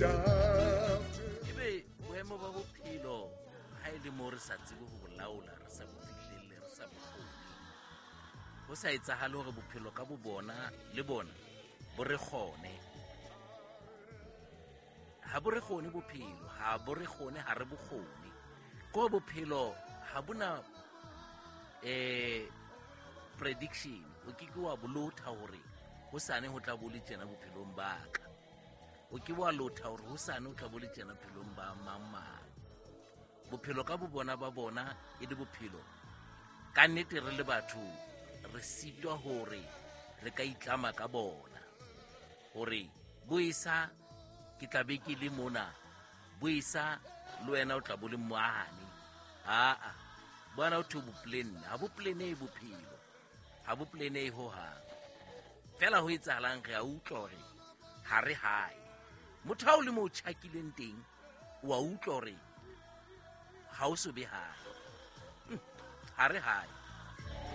Ebe boemo ba bophelo ha e le mo re sa tsebe ho bolaola, re sa bo fihlelle, re sa bo kgone, ho sa etsahale hore bophelo ka bo bona le bona bo re kgone. Ha bo re kgone bophelo, ha bo re kgone, ha re bo kgone. Ko bophelo ha bona prediction, o ke ke wa bolotha hore hosane ho tla bo le tjena bophelong ba ka. O ke wa lotha hore hosane o tla bo le tjena bophelong ba mang mang. Bophelo ka bo bona ba bona e le bophelo. Ka nnete re le batho re sitwa hore re ka itlama ka bona hore bo esa ke tla be ke le mona, bo esa le wena o tla bo le moahane. Aa, bona o thwe bo plane, ha bo plane bophelo, ha bo plane ho hang. Fela ho etsahalang re a utlwa hore ha re hae. Motho ha o le mo tjhakileng teng, o a utlwa hore ha o so be hae. Ha re hae.